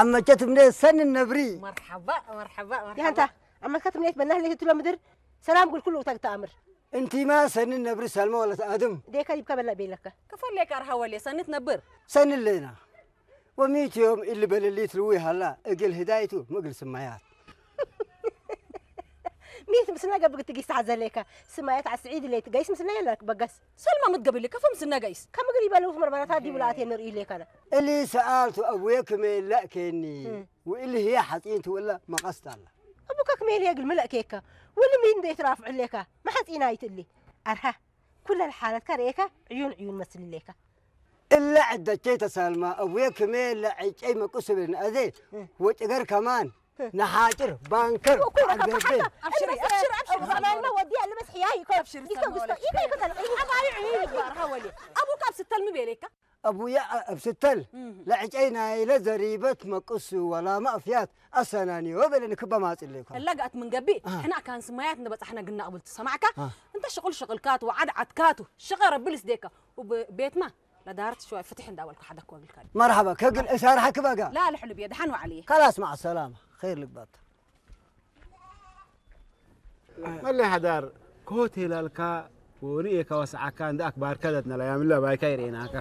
ኣመቸት እምነ ሰኒ ነብሪ። መርሓባ፣ መርሓባ፣ መርሓባ። ያንታ፣ ኣመልካት እምነት በናህ ለይት ትሎ ምድር ሰላም ጉል ኩሉ ተግታ ኣምር። እንቲማ ሰኒ ነብሪ ሰልመ ወለት ኣድም። ዴካ ይብካ በላ ቤለካ። ከፈል ሌካ ኣርሃ ወሌ ሰኒ ትነብር። ሰኒ ሌና። ወሚት ዮም ኢሊ በለሊት ልዊ ሃላ እግል ህዳይቱ ምግል ስማያት። ሚት ምስና ገብግ ትጊስ ተሓዘ ሌካ። ስማያት ኣስዒድ ሌት ጋይስ ምስና የላክ በጋስ። ሰልማ ምትገብሊ ከፈ ምስና ጋይስ። ከምግል ይበለው መርመራታ ዲብላኣት የንርኢ ሌካና። እሊ ሰኣልቱ ኣቡየ ክመ ለእኬኒ። እም። ወእሊ ህየ ሓጺን ትውላ መቐስት ኣላ። ኣቡካ ክመ የግል ምለእኬካ። ወሊ ሚን እንደ ይትራፍዕ ሌካ። መሓጺና ይትእሊ። ኣርሃ። ኩለን ሓለትካ ርኤካ ዕዩን ዕዩን መስልሌካ። እለ ዕደቼ ተሳልማ እቡየ ክሜ ለዕጨይ መቁስብን ኣዜ እህ። ወጭገር ከማን እህ። ነሓጭር ባንከር እኮ ረካ ዓገርቤ። ተሓታ። ኣብሽሪ፣ ኣብሽሪ፣ ኣብሽሪ። ሰላልማ ወዲ ያለ በስ ሕያይ ይኮ። ኣብሽሪ፣ ይኮ ሰላም ጉስቶ። ወለኪ። ይኮ ይኮ ተለ። ኣባይ ዕዩን ይባር ሃወሊ። ኣቡካ ኣብ ስተል ምቤሌካ። ኣቡያ ኣብ ስተል እህ። ለዕጨይ ናይለ ዘሪበት መቁስ ወላ ማእፍያት ኣሰናንዮ በለኒ ክበ ማጽለይኮ። እላጋት ምን ገቢ አ። ሕና ካን ስማያት እንደ በጻሕና ግና ቅብል ትሰማዕካ አ። እንተ ሽቁል ሽቅልካቱ ወዓድ ዓትካቱ ሽቀ ረብል ስዴካ ወቤትማ ለዳርት ሽዋይ ፍትሕ እንዳበልኩ ሓደክ ወግልካ። መርሓባ ከግል እሳርሓ ክባጋ። ላ ልሕሉ ብየ ደሓን ዋዕልየ። ካላስ ማዕ ሰላማ ኸይር ልግባት። መለይ ሓዳር ኮቴል ኣልካ ወንኤካ ወስዓካ እንደ ኣክባር ከደት ነላ ያምላ ባይካ ይሬናካ።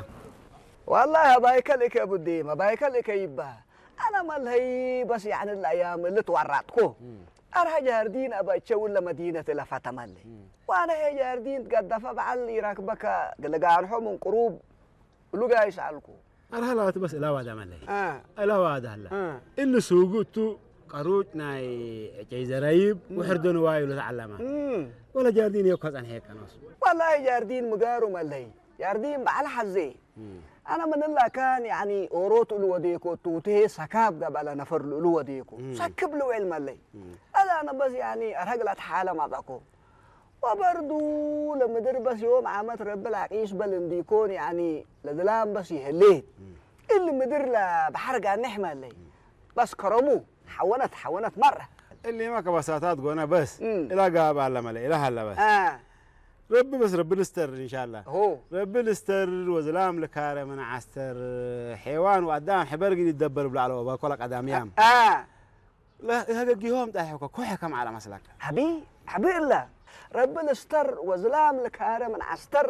والله بايكل إك أبو الديمة بايكل إك يبها. أنا ملهي بس يعني الأيام اللي تورطكو. أرها جاردين أبا تشاول لمدينة لفتملي. وأنا هي جاردين قد دفع بعل يراكبك قلقان حو من قروب لقا يسألكو. ኣርሃ ለዋት በስ እላዋዳ መለይ። አ። እላዋዳ ኣላ። አ። እሊ ሱጉ እቱ ቀሩጭ ናይ ዕጨይ ዘረይብ እም። ውሕር ደንዋ ኢሉ ተዓለማ። እም። ወለ ጃርዲን የኳ ጸንሐ የቀኖስ። والله ጃርዲን ምጋሩ መለይ። ጃርዲን በዓል ሓዜ። እም። ኣነ ምንላ ካን ያኒ ኦሮት እሉ ወዴኮ ቱቴ ሰካብ ገበለ ነፈር እሉ ወዴኮ። እም። ሰክብ ልውዕል መለይ። እም። ኣዛ ኣነ በስ ያኒ ረግላት ሓለ ማጣኮ። ወበርዱ ለምድር በስ ዮም ዓመት ረብል ዓቂስ በል እንዲኮን ያኒ ለዝላም በስ ይህሌት። እም። እል ምድር ለባሕር ጋኔሕ መለይ። እም። በስ ከረሙ ሓወነት ሓወነት መረ። እሊማ ከባሳታት ጎነ በስ እም። እላ ጋብ ኣለ መለ እላ ሃለ በስ። አ። ረቢ በስ ረቢ ልስተር ኢንሻላ። ሆ። ረቢ ልስተር ወዝላም ልካረ ምን ዓስተር ሔዋን ወኣዳም ሕበር ግን ይደበር ብላዕሎ ባኮላ ቀዳምያም። አ። لا هذا جيهم تاعي حكا كوحة كم على مسلك. حبي حبي الله. رب الاستر وزلام لك هارة من عستر.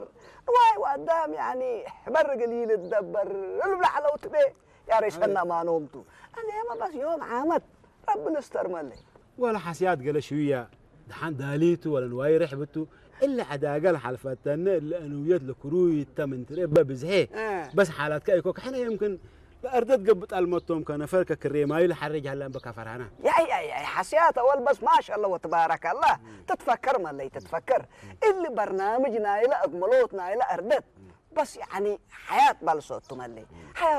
واي وقدام يعني حبر قليل الدبر. البلا حلو تبي يا ريش أنا ما نومتو. أنا يا ما بس يوم عامت. رب الاستر مالي. ولا حسيات قال شوية. دحان داليتو ولا نواي رحبتو. إلا عدا قال حلفتنا إلا أنويت لكروي تمن تري ببزحي. آه. بس حالات كايكو كحنا يمكن ለእርደት ገብጥ ኣልመቶም ከነፈር ከክሬ ማይል ሓርጅ ሃላን በካ ፈርሃና። ያይ ያይ ያይ ሓስያት ኣወል በስ ማሻላ ወተባረከላ። ትትፈከር መለይ ትትፈከር። እሊ በርናምጅ ናይለ ኣግመሎት ናይለ እርደት በስ ያኒ ሓያት ባልሶቱ መለይ ሓያት